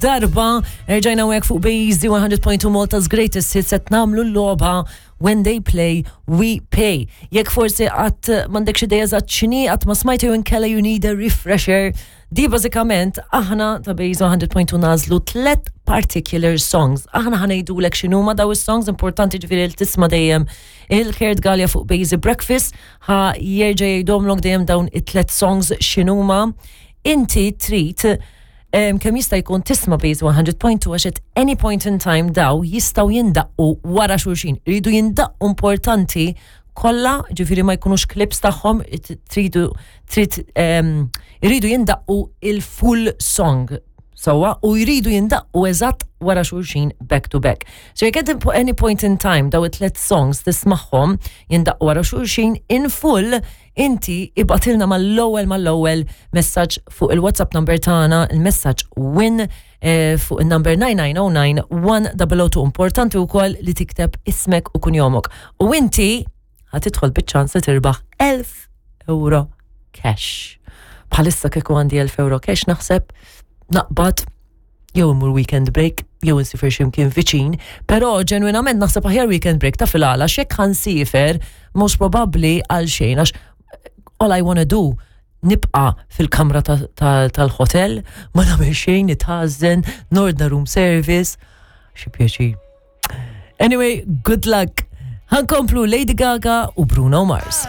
Darba, erġajna hawnhekk fuq Bejzi 100.2 Malta's Greatest Hits qed nagħmlu l-logħba When They Play, We Pay. Jekk forsi qatt m'għandekx idea eżatt x'inhi, qatt ma smajt jew inkella you need a refresher, di bażikament aħna ta' Bejzi 100.2 nagħżlu tlet particular songs. Aħna ħa ngħidulek x'inhuma daw is-songs, importanti ġifieri li tisma' dejjem il-Kurt Galea fuq Bejzi Breakfast, ħa jerġa' jgħidhomlok dejjem dawn it-tlet songs x'inhuma. Inti trid kemm jista' jkun tisma' Base 100.2 għax at any point in time daw jistgħu jindaqqu wara xulxin. Iridu jindaqqu importanti kollha, ġifieri ma jkunux clips tagħhom, tridu trid iridu jindaqqu il-full song sewwa u jridu jindaqqu eżatt wara xulxin back to back. So jekk at any point in time daw it-tlet songs tismagħhom jindaqqu wara xulxin in full, Inti ibgħatilna mal-ewwel mal-ewwel messaġġ fuq il-WhatsApp number tagħna, il-messaġġ win eh, fuq il-number 9909 1002. Importanti wkoll li tikteb ismek u kunjomok. U inti ħatidħol biċ-ċans li tirbaħ 1000 euro cash. Bħalissa kieku għandi 1000 euro cash naħseb naqbad jew immur weekend break, jew insifer ximkien viċin, però ġenwinament naħseb aħjar weekend break ta' fil-għala xek ħansifer most probabbli għal xejn għax all I wanna do nibqa fil-kamra tal-hotel, ma nagħmel xejn, nitħażen, nordna room service, xi pjaċir. Anyway, good luck. Ħankomplu Lady Gaga u Bruno Mars.